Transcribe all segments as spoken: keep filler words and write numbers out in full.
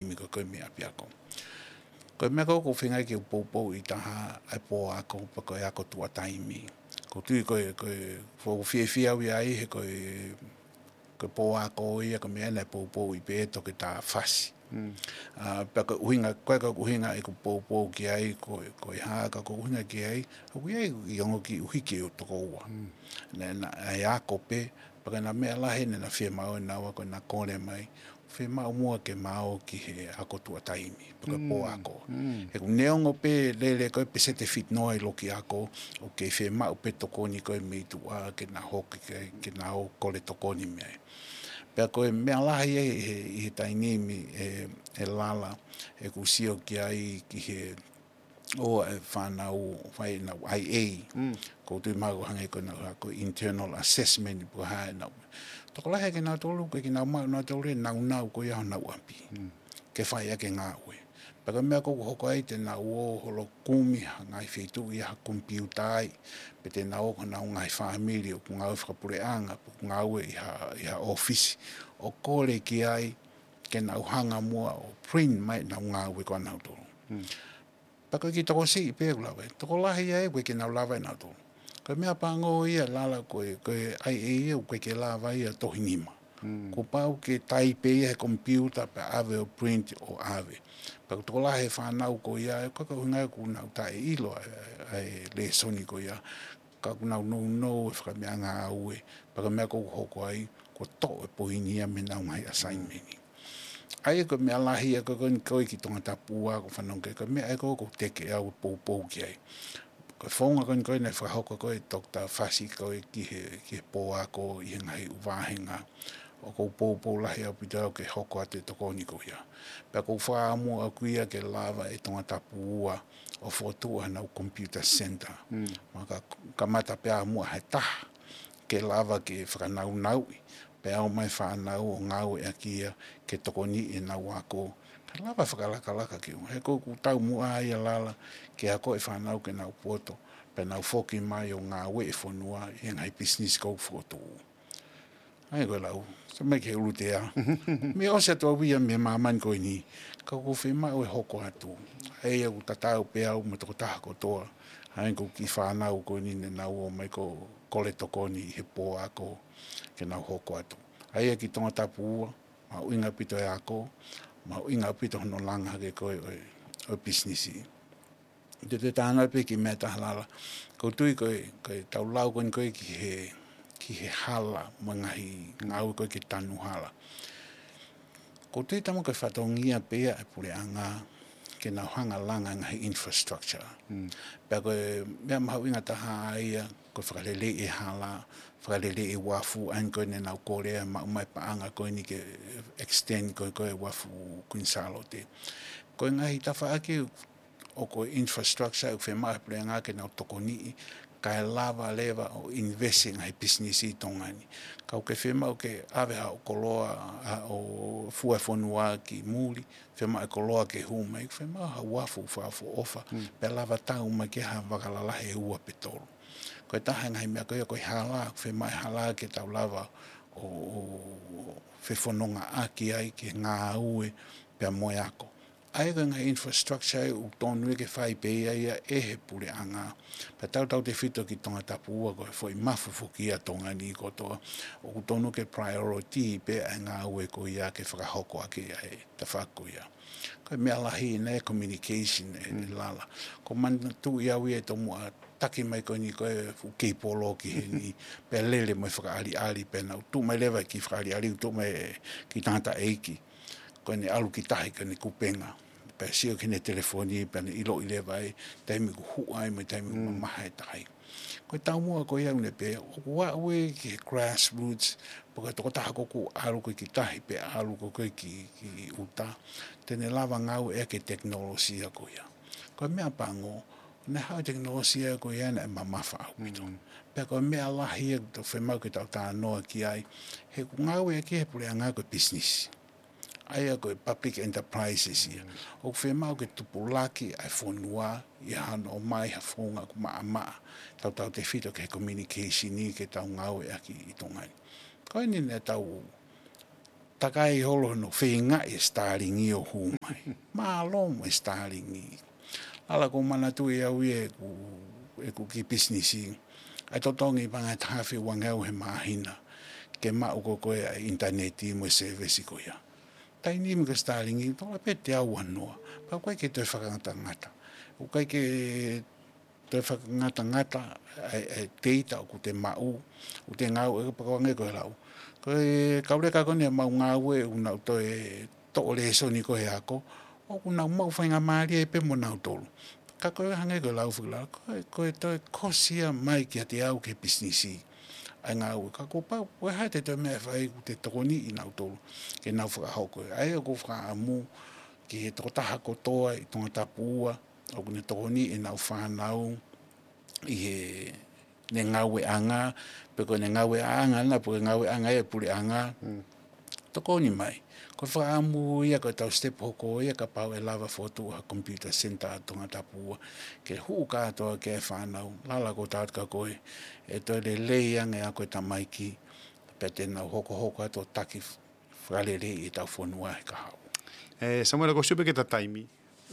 taimi ko ē ko e meʻa ʻapiako. Ko e meʻa ko ē ʻoku ou feinga ke u poupou ʻi taha ʻa e pō ako, pe ko e ako tuʻa taimi. ʻOku ou tui ko e, ko e, ʻoku ou fiefia au ia ai he ko e, ko e pō ako ia ko e meʻa naʻe poupouʻi pē ʻe Toketā Fasi. ʻA, pea ko e ʻuhinga, ko e, ko e ʻuhinga ʻeku poupou ki ai, ko, ko e hā, ka ko e ʻuhinga ki ai, ʻoku ʻi ai ʻeku kiʻi ongo kiʻi ʻuhiki ʻo toko ua. Naʻe, naʻe ako pē, pea ko e ngaahi meʻa lahi naʻe na fiemaʻu ʻe naua ko ʻena kole mai, fiemaʻu muʻa ke ma ō ki he ako tuʻa taimi, pe ko e pō ako. He ʻoku neongo pē lele ko e peseti ʻe fitu noa ʻi loki ako, ʻoku kei fiemaʻu pē tokoni ko ē mei tuʻa ke na hoki ke, ke na ō kole tokoni mei ai. Pea ko e meʻa lahi ʻi he, ʻi he taimi ni ʻe, ʻe Lala, ʻeku sio ki ai ki he ʻoku ʻi ai e fānau, fai ʻenau I A. ʻOku ou tui mahalo hangē ko ʻenau hā ko e internal assessment pe ko e hā ʻenau. Tokolahi ʻa kinautolu, ko e kinautolu maʻu nautolu e nāunau ko ia honau ʻapi. Ke fai ʻaki e ngāue. Pea ko e meʻa ʻoku hoko ai te nau ō holo kumi ha ngaahi feituʻu ia ha komipiuta ai. Pe te nau ō ki honau ngaahi fāmili ʻoku ngāue fakapuleʻanga, pe ʻoku ngāue ʻi ha, ʻi ha ʻōfisi. ʻO kole ki ai, ke nau hanga muʻa ʻo print mai ʻenau ngāue ko ē ʻanautolu. Pea ko e kiʻi tokosiʻi pē ʻoku lava ai. Tokolahi ai ʻoku ʻikai ke nau lava ʻe nautolu. Ko e meʻa pango ia Lala ko e, ko e I A ia ʻoku ʻikai ke lava ia tohi nima. Kuo pau ke taipe ia he komipiuta pea ʻave ʻo print ʻo ʻave. Pea ko e tokolahi e fānau ko ia, ʻoku ʻikai ko e ʻuhinga ia ʻoku nau taʻeʻilo ʻa e, ʻa e lēsoni ko ia. Ka ʻoku nau nounou e fakameʻangāue, pea ko e meʻa ʻoku hoko ai, kuo toʻo e poini ia mei heʻenau ngaahi assignment. ʻA ia ko e meʻa lahi ia ko ē ko eni ko ē ki Tongatapu ua ʻoku ou fanongo ki ai, ko e meʻa ia ko ē ʻoku ou teke au ʻo poupou ki ai. Ko e founga ko eni ko ē naʻe fakahoko ko ē ʻe Toketā Fasi ko ē ki he, ki he pō ako ʻi he ngaahi ʻū vāhenga. ʻOku ou poupou lahi ʻaupito au ke hoko atu e tokoni ko ia. Pea ʻoku ou fakaʻamu ʻaʻaku ia ke lava ʻe Tongatapu ua ʻo fokotuʻu haʻanau computer center. Ma ka, kamata pē ʻamuʻa he taha ke lava ke fakanaunauʻi, pea ō mai fānau ʻo ngāueʻaki ia ke tokoniʻi ʻenau ako. Ka lava fakalakalaka ki ʻuhinga. He ko ʻeku taumuʻa ia Lala ke ako e fānau ke nau poto, pea nau foki mai ʻo ngāue e fonua ʻi he ngaahi pisinisi ʻoku fokotuʻu. ʻA ia ko e lau, sa mai ke ulu te a. Mei ʻosi atu au ia mei māmani ko eni, ka ʻoku ou fiemaʻu ʻe hoko atu. ʻA ia ʻoku tatau pē au mo e tokotaha kotoa. ʻA ia ko e kiʻi fānau ko eni ne nau ō mai ko e kole tokoni ʻi he pō ako ke nau hoko atu. ʻA ia ki Tongatapu ua, mahuʻinga ʻaupito e ako, mahuʻinga ʻaupito hono langa hake ko ē ʻo e, ʻo e pisinisi. Te te tānaki pē ki he meʻa ʻe taha Lala. ʻOku ou tui ko e, ko e tau lau ko eni ko ē ki he, ki he hala, mo e ngaahi ngāue ko ē ke tanu hala. ʻOku ou tui tamu ko e fatongia pē ia ʻa e puleʻanga ke nau hanga langa ngaahi infrastructure. Pea ko e meʻa mahuʻinga taha ia, ko e fakaleleiʻi e hala, fakaleleiʻi e uafu, ʻa eni ko ē ne nau kole ʻa e maʻu mai paʻanga ko eni ke extend ko ē, ko ē uafu Queen Sālote. Ko e ngaahi tafaʻaki ʻoku ko e infrastructure ʻoku fiemaʻu he puleʻanga ke nau tokoniʻi, kae lava leva ʻo invest e ngaahi pisinisi ʻi Tonga ni. Ka ʻoku ke fiemaʻu ke ʻave haʻo koloa, haʻo fua e fonua ki muli, fiemaʻu e koloa ke hū mai, fiemaʻu ha uafu fakaʻofoʻofa, pea lava tau mai ki ha vaka lalahi ʻe ua pe tolu. Ko e taha e ngaahi meʻa ko ia ko e hala, fiemaʻu e hala ke tau lava ʻo, ʻo fefonongaʻaki ai ke ngāue pea mo e ako. ʻA ia ko e ngaahi infrastructure ʻoku tonu ia ke fai pē ia ia ʻe he puleʻanga. Pea tautautefito ki Tongatapu ua ko e foʻi mafu foki ia Tonga ni kotoa. ʻOku tonu ke priority pē ʻa e ngāue ko ia ke fakahoko ʻaki ʻa e tafaʻaki ko ia. Ko e meʻa lahi ʻena e communication ʻe, ʻe Lala. ʻOku ou manatuʻi au ia ʻi he tomuʻa taki mai ko eni ko e fuʻu keipolo ki heni, pea lele mo e fakaʻaliʻali, pea nau tuʻu mai leva ki he fakaʻaliʻali, tuʻu mai ki he tangataʻeiki. Ko ʻene ʻalu ki tahi ko ʻene kupenga. Pea sio ki heʻene telefoni, pea ne ʻiloʻi leva e taimi ʻoku huʻa ai mo e taimi ʻoku mamaha e tahi. Ko e taumuʻa ko ia ʻoku ne pehē, ʻoku aʻu ia ki he grassroots, pe ko e tokotaha ko ē ʻoku ʻalu ko ē ki tahi, pe ʻalu ko ē ki, ki ʻuta. Te ne lava ngāueʻaki e tekinolosia ko ia. Ko e meʻa pango, naʻe haʻu e tekinolosia ko ia naʻe mamafa ʻaupito. Pea ko e meʻa lahi ia ʻoku tau fiemaʻu ke tau talanoa ki ai, he ʻoku ngāueʻaki he puleʻanga ko e business. ʻA ia ko e public enterprises ia. ʻOku fiemaʻu ke tupulaki ʻa e fonua ʻi hano ʻomai ha founga ʻoku maʻamaʻa. Tautautefito ki he communication ni ke tau ngāueʻaki ʻi Tonga ni. Ko eni naʻa tau takai holo hono feingaʻi e Starlink ʻo hū mai. Mālō mo e Starlink. Lala, ʻoku ou manatuʻi au ia ʻeku, ʻeku kiʻi pisinisi. ʻA e totongi paʻanga ʻe taha afe uangeau he māhina ke maʻu ko ē ʻa e ʻinitaneti mo e sēvesi ko ia. Taimi ni ko e Starlink, tola pē teau uanoa. Pea ʻoku ʻikai ke toe fakangatangata. ʻOku ʻikai ke toe fakangatangata ʻa e, ʻa e data ʻoku te maʻu, ʻoku te ngāue, pea ʻoku hangē ko e lau. Ko e kau leka ko eni ʻoku mau ngāue, ʻoku nau toe toʻo lēsoni ko ē he ako, ʻoku nau maʻu faingamālie pē mo nautolu. Ka ko e hangē ko e lau foki lau, ko e, ko e toe kosi ia mai kiate au ki he pisinisi ʻa e ngāue. Ka kuo pau, ko e hā te toe meʻa ʻe fai, ʻoku te tokoniʻi nautolu ke nau fakahoko. ʻA ia ʻoku ou fakaʻamu ki he tokotaha kotoa ʻi Tongatapu ua, ʻoku ne tokoniʻi ʻenau fānau ʻi heʻene ngāueʻanga, pe ko ʻene ngāueʻanga na, pe ko e ngāueʻanga ʻa e puleʻanga. Tokoni mai. Ko e fakaʻamu ia ko ʻetau step hoko ia kapau ʻe lava fokotuʻu ha computer center ʻa Tongatapu ua ke hū kātoa ki ai e fānau, lala ko tau ka ko ē, ʻe toe lelei ange ʻa e ako ʻa e tamaiki, pea te nau hokohoko atu ʻo taki fakaleleiʻi ʻetau fonua he kahaʻu. ʻE, Samuela, ko e sio pē ki he taimi,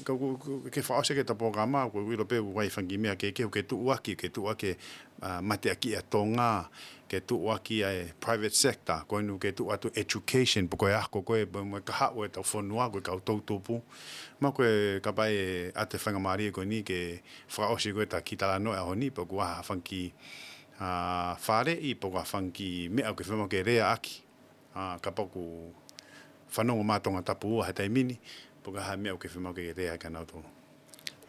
ka ko, ko, ke fakaʻosi ʻaki ʻeta polokalama, ʻoku ou ʻilo pē ʻoku ʻi ai e fanga kiʻi meʻa ke, ke, ke tuʻuaki, ke tuʻuaki, ʻa, mateaki ʻa Tonga, ke tuʻuaki ʻa e private sector, ko eni ke tuʻu atu education, pe ko e ako ko ē, pe mo e kahaʻu ʻetau fonua, ko e kau toʻutupu. Mahalo ko e kapau ʻe ʻoatu e faingamālie ko eni ke fakaʻosi ko ē ʻeta kiʻi talanoa he ʻaho ni, pe ʻoku ʻi ai ha fanga kiʻi, ʻa, faleʻi, pe ʻoku ʻi ai ha fanga kiʻi meʻa ʻoku ke fiemaʻu ke lea ʻaki. ʻA, kapau ʻoku fanongo mai Tongatapu ua he taimi ni, pe ko e hā e meʻa ʻoku ke fiemaʻu ke lea ʻaki kia nautolu.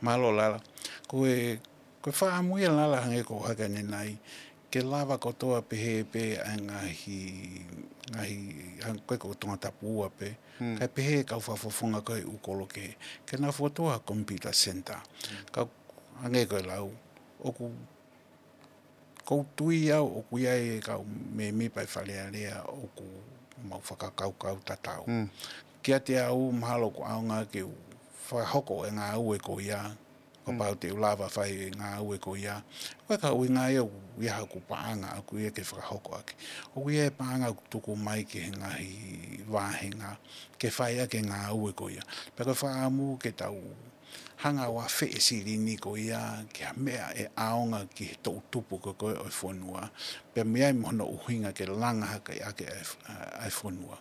Mālō lala. Ko e, ko e fakaʻamu ia lala hangē ko e haka ʻanenai, ke lava kotoa pehē pē ʻa e ngaahi, ngaahi, hangē ko ē ko Tongatapu ua pē, kae pehē kau fakafofonga ko ē ʻū kolo kehe, ke nau fokotuʻu ha computer center. Ka hangē ko e lau, ʻoku ʻoku ou tui au ʻoku ʻi ai e kau mēmipa ʻi Fale Alea ʻoku mau fakakaukau tatau. Kiate au mahalo ʻoku ʻaonga ke u fakahoko e ngāue ko ia, kapau te u lava fai e ngāue ko ia. Ko e kau ʻuhinga ia ʻoku ʻi ai haʻaku paʻanga ʻaʻaku ia ke fakahoko ʻaki. ʻOku ʻi ai e paʻanga ʻoku tuku mai ki he ngaahi vāhenga ke fai ʻaki e ngāue ko ia. Pea ko e fakaʻamu ke tau hanga ʻo afeʻi e silini ko ia ki ha meʻa ʻe ʻaonga ki he toʻutupu ko ē ʻo e fonua, pea mei ai mo hono ʻuhinga ke langa hake ʻaki ʻa e, ʻa e fonua.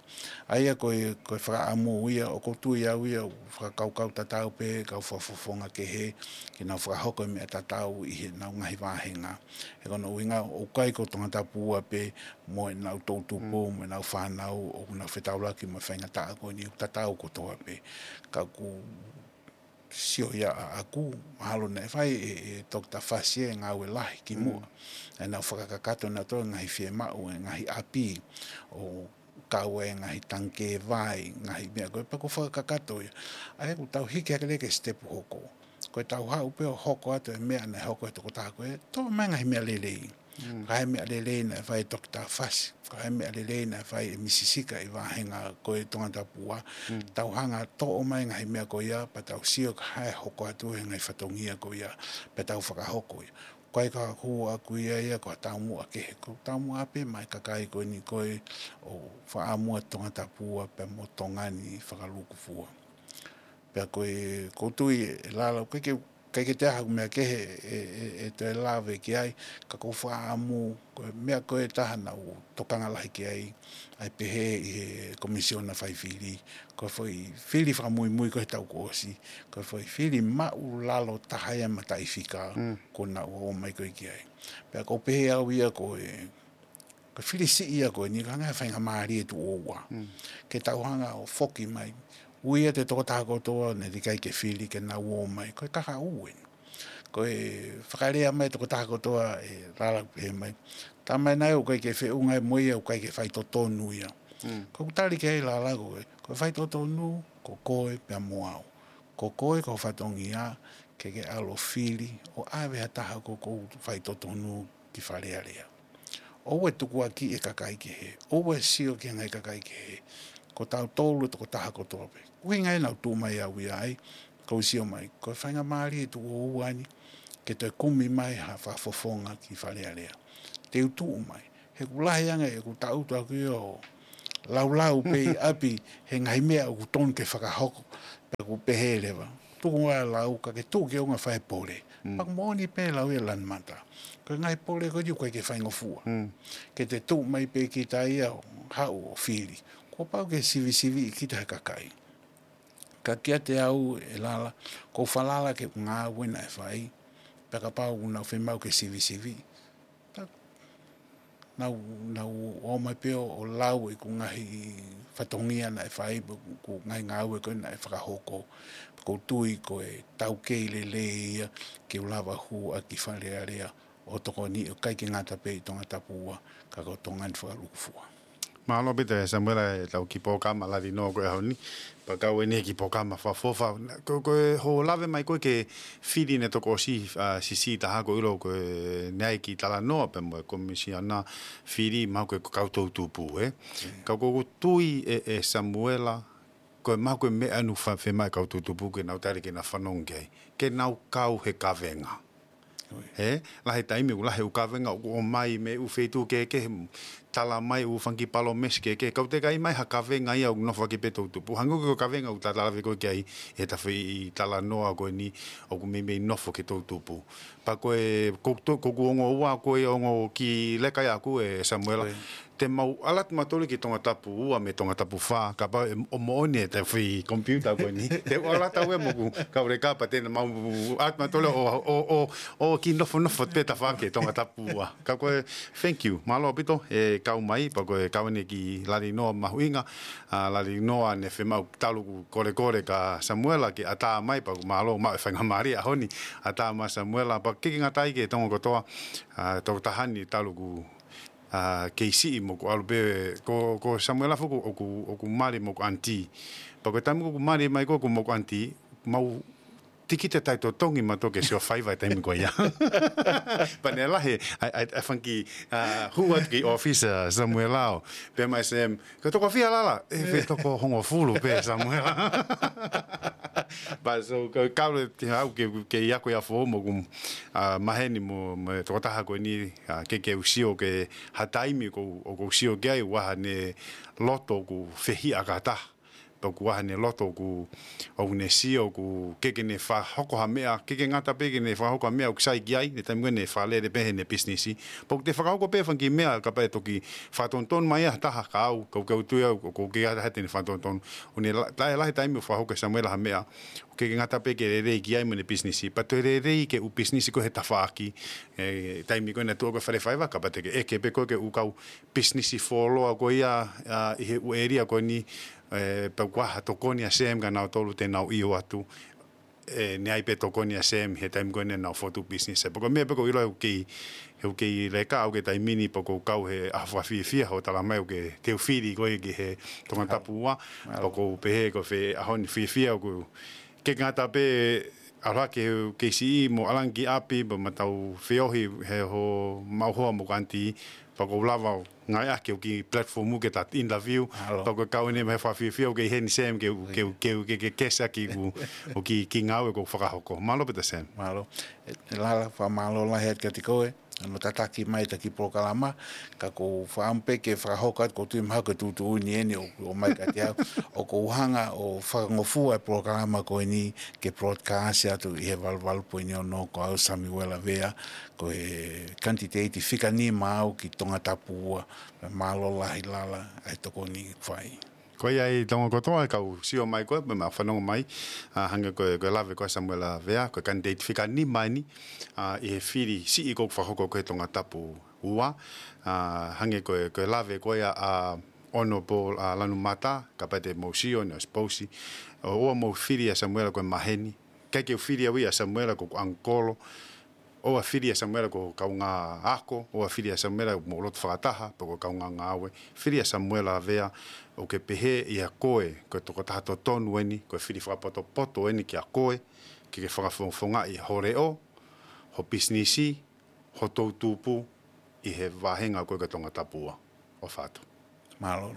ʻA ia ko e, ko e fakaʻamu ia, ʻoku ou tui au ia, ʻoku fakakaukau tatau pē kau fakafofonga kehe, ke nau fakahoko e meʻa tatau ʻi heʻenau ngaahi vāhenga. He ko hono ʻuhinga, ʻoku ʻikai ko Tongatapu ua pē mo ʻenau toʻutupu, mo ʻenau fānau, ʻoku nau fetaulaki mo e faingataʻa ko eni, ʻoku tatau kotoa pē. Ka ʻoku sio ia ʻaʻaku, mahalo naʻe fai ʻe, ʻe Toketā Fasi e ngāue lahi kimuʻa. ʻEnau fakakakato nautolu e ngaahi fiemaʻu, e ngaahi ʻapi, ʻo kau e ngaahi tangikē vai, ngaahi meʻa ko ē, pea ʻoku fakakakato ia. ʻA ia ʻoku tau hiki hake leva ki he sitepu hoko. Ko ʻetau haʻu pē ʻo hoko atu e meʻa naʻe hoko ʻe he tokotaha ko ē, toʻo mai e ngaahi meʻa lelei. Ka ʻi ai e meʻa lelei naʻe fai ʻe Toketā Fasi, ka ʻi ai e meʻa lelei naʻe fai ʻe Misi Sika ʻi he vāhenga ko ē Tongatapu ua. Tau hanga ʻo toʻo mai e ngaahi meʻa ko ia, pea tau sio ki he hā ʻe hoko atu he ngaahi fatongia ko ia, pea tau fakahoko ia. Ko e ʻai ka hū ʻaʻaku ia ia ko ha taumuʻa kehe, ko e taumuʻa pē maʻa e kakai ko eni ko ē ʻoku fakaʻamu ʻa Tongatapu ua pea mo Tonga ni fakalūkufua. Pea ko e, ʻoku ou tui ʻe lala, ʻoku ʻikai ke, ʻikai ke toe ʻi ai haʻaku meʻa kehe ʻe, ʻe, ʻe toe lave ki ai, ka ʻoku ou fakaʻamu, ko e meʻa ko ē ʻe taha naʻá ku tokanga lahi ki ai, ʻa e pehē ʻe he Komisiona Faifili, ko e foʻi fili fakamuimui ko ē he taʻu kuo ʻosi, ko e foʻi fili māʻulalo taha ia e mataʻifika, ko ē naʻá ku ō mai ko ē ki ai. Pea ʻoku ou pehē au ia ko e, ko e fili siʻi ia ko eni, ka ʻoku ʻi ai e faingamālie tuʻo ua. Ke tau hanga ʻo foki mai. Ui atu e tokotaha kotoa naʻe teʻeki ai ke fili ke nau ō mai. Ko e kahaʻu eni. Ko e fakalea mai e tokotaha kotoa ʻe lala pehē mai. Tā mai naʻe ʻikai ke feʻunga ia mo ia, ʻikai ke faitotonu ia. Ko ʻeku tali ki ai lala ko e, ko e faitotonu, ko koe pea mo au. Ko koe ko e fatongia, ke ke ʻalu ʻo fili, ʻo ʻave ha taha ʻoku faitotonu ki Fale Alea. ʻOua ʻe tukuakiʻi e kakai kehe, ʻoua ʻe sio ki he ngaahi kakai kehe. Ko tautolu e tokotaha kotoa pē. ʻUhinga ia naʻá ku tuʻu mai au ia ai, ʻoku ou sio mai, ko e faingamālie tuʻo ua ni, ke toe kumi mai ha fakafofonga ki Fale Alea. Te u tuʻu mai. He ʻoku lahi ange ʻeku tangutu ʻaʻaku ia ʻo, laulau pē ʻi ʻapi he ngaahi meʻa ʻoku tonu ke fakahoko, pea ʻoku pehē leva. Tuku ā lau ka ke tuʻu ki ʻolunga fai pole. Mm. Pea ʻoku moʻoni pē lau ia Lanumata. Ko e ngaahi pole ko ia ʻoku ʻikai ke faingofua. Mm. Ke te tuʻu mai pē kita ia ʻo haʻu ʻo fili. Kuo pau ke sivisiviʻi kita he kakai. Ka kiate au ʻe Lala, ʻoku ou falala ki he ngāue naʻe fai, pea kapau ʻoku nau fiemaʻu ke sivisiviʻi. Ta, nau, nau ō mai pē ʻo, ʻo lau ʻeku ngaahi fatongia naʻe fai, ʻeku ngaahi ngāue ko ē naʻe fakahoko. Pea ʻoku ou tui ko e taukei lelei ia ke u lava hū ʻaki Fale Alea ʻo tokoni ʻo ʻikai ke ngata pē ʻi Tongatapu ua, ka ko Tonga ni fakalūkufua. Mālō ʻaupito ʻe Samuela ʻetau kiʻi polokalama lali noa ko ē ʻaho ni. Pea kau eni e kiʻi polokalama fakaʻofoʻofa. Ko, ko hoʻo lave mai ko ē ki he fili naʻe toki ʻosi, ʻa, siʻisiʻi taha ʻoku ou ʻilo ko e naʻe ʻi ai e kiʻi talanoa pea mo e Komisiona fili mahalo ko e kau toʻutupu, ē? Mm. Ka ʻoku ou tui ʻe, ʻe Samuela, ko e mahalo ko e meʻa ʻoku fa-, fiemaʻu ʻe he kau toʻutupu ke nau tali ke nau fanongo ki ai. Ke nau kau he kavenga. Ē, lahi e taimi ʻoku lahi e ʻū kavenga ʻoku ʻomai mei he ʻū feituʻu kehekehe, tala mai e ʻū fanga kiʻi palōmesi kehekehe. Ka ʻoku teʻeki ai ʻomai ha kavenga ia ʻoku nofo hake pē toʻutupu. Hangē ko e kavenga ʻoku ta lave ko ē ki ai ʻi heʻeta foʻi talanoa ko eni ʻoku meimei nofo ki he toʻutupu. Pea ko e, ko, to-, ko ʻeku ongo ua ko e ongo kiʻi leka ia ʻaʻaku ʻe Samuela. Te mau ʻalu atu mautolu ki Tongatapu ua mei Tongatapu fā, kapau ʻe, ʻoku moʻoni ʻeta foʻi komipiuta ko eni. Te u ʻalu atu au ia mo ʻeku kau leka pea te mau ʻalu atu mautolu ʻo, ʻo, ʻo, ʻo kiʻi nofonofo pē tafaʻaki ʻi Tongatapu ua. Ka ko e, thank you. Mālō ʻaupito e kau mai, pea ko e kau eni ki he lali noa mahuʻinga, ʻa, lali noa naʻe fiemaʻu talu ʻeku kolekole kia Samuela ke ʻatā mai, pea ʻoku mālō maʻu e faingamālie ʻaho ni, ʻatā mai Samuela, pea ʻikai ke ngata ai ki he Tonga kotoa, ʻa, tokotaha ni talu ʻeku ʻa, kei siʻi mo ʻeku ʻalu pē, ko, ko Samuela foki ʻoku, ʻoku mali mo ʻeku ʻanitī. Pea ko e taimi ʻoku mali mai ko ē mo ʻeku ʻanitī, mau tiki te tai totongi mautolu ke sio faiva he taimi ko ia. Pea naʻe lahi, ʻa, ʻa, ʻa e fanga kiʻi, ʻa, hū atu ki he ʻōfisi ʻa Samuela ʻo pehē mai Sam, ko e toko fiha Lala, ʻe, fē toko hongofulu pē Samuela. Pea so, ka, ka ʻoku ou tui au ke, ke ʻi ai ko ia foʻou mo ʻeku, ʻa, maheni mo, mo e tokotaha ko eni, ʻa, ke, ke u sio ki ha taimi ʻoku, ʻoku ou sio ki ai, ʻoku ʻi ai haʻane loto ʻoku fehiʻa kātoa. Pea ʻoku ʻi ai haʻane loto ʻoku, ʻoku ne sio ʻoku ʻikai ke ne fakahoko ha meʻa, ʻikai ke ngata pē ke ne fakahoko ha meʻa ʻoku sai ki ai, he taimi ko ē naʻe fakalele pē heʻene pisinisi. Pea ʻoku te fakahoko pē fanga kiʻi meʻa kapau ʻe toki fakatonutonu mai ha taha kia au, ka ʻoku ou tui au, ʻoku ʻikai ke ʻi ai ha taha te ne fakatonutonu. ʻOku ne la-, lahi, lahi e taimi ʻoku fakahoko ʻe Samuela ha meʻa, ʻoku ʻikai ke ngata pē ke lelei ki ai mo ʻene pisinisi. Pea toe lelei ki he ʻū pisinisi ko ē he tafaʻaki, ʻe, taimi ko ē naʻe tuʻu ko ē Fale Faiva, kapau te ke ʻeke pē ko ē ki he ʻū kau pisinisi fuoloa ko ia, ʻa, ʻi he ʻū ʻēlia ko eni, ʻe, pea ʻoku ʻi ai ha tokoni ʻa Sam kia nautolu te nau ʻio atu, ʻe, naʻe ʻi ai pē tokoni ʻa Sam he taimi ko ē naʻa nau fokotuʻu pisinisi. Pea ko e meʻa pē ʻoku ou ʻilo ʻoku kei, ʻoku kei leka au ki he taimi ni pea ʻoku ou kau he ʻaho fakafiefia hoʻo tala mai ʻoku ke teu fili ko ē ki he Tongatapu ua. Pea ʻoku ou pehē ko e fē ʻaho ni fiefia ʻoku ʻikai ke ngata pē ʻalu hake he kei siʻi mo ʻalu ange ki ʻapi, pea ma tau feohi he hoʻo maʻu hoa mo ʻeku ʻanitī, pea ʻoku ou lava ʻo ngāueʻaki hoʻo kiʻi platform ke ta interview, pea ʻoku kau eni mo e fakafiefia ʻoku kei ʻi heni Sam ke, ke, ke, ke, ke kesa ki ʻeku, ʻeku kiʻi, kiʻi ngāue ʻoku ou fakahoko. Mālō ʻaupito Sam. Mālō. ʻE, ʻe Lala, fakamālō lahi atu kiate koe. Hono tataki mai ʻeta kiʻi polokalama, ka ʻoku ou fakaʻamu pē ke fakahoko atu, ʻoku ou tui mahalo ko e tuʻutuʻuni eni ʻoku, ʻoku ʻomai kiate au, ʻoku ou hanga ʻo fakangofua e polokalama ko eni ke broadcast atu ʻi he valu valu poini ono, ko au Samuela Vea, ko e kanititeiti fika nima au ki Tongatapu ua, mālō lahi Lala, ʻa e tokoni fai. Ko ia ʻi Tonga kotoa, kau sio mai ko ē, pea mau fanongo mai, ʻa, hangē ko e, ko e lave ko ē ʻa Samuela Vea, ko e kanititeiti fika nima eni, ʻa, ʻi he fili siʻi ʻoku fakahoko ko ē ʻi Tongatapu ua, ʻa, hangē ko e, ko e lave ko ē ʻa, ʻa Honourable, ʻa, Lanumata, kapau te mou sio, naʻe ʻosi pousi, ʻo, ʻoua mou fili ʻa Samuela ko e maheni, ʻikai ke u fili au ia ʻa Samuela ko ʻeku ʻangikolo, ʻoua fili ʻa Samuela ko e kaungā ako, ʻoua fili ʻa Samuela mo loto fakataha, pe ko e kaungā ngāue. Fili ʻa Samuela Vea, ʻoku ke pehē ʻe koe, ko e tokotaha totonu eni, ko e fili fakapotopoto eni kia koe, ke ke fakafofongaʻi ho leʻo, ho pisinisi, ho toʻutupu, ʻi he vāhenga ko ē ko Tongatapu ua. ʻOfa atu. Mālō.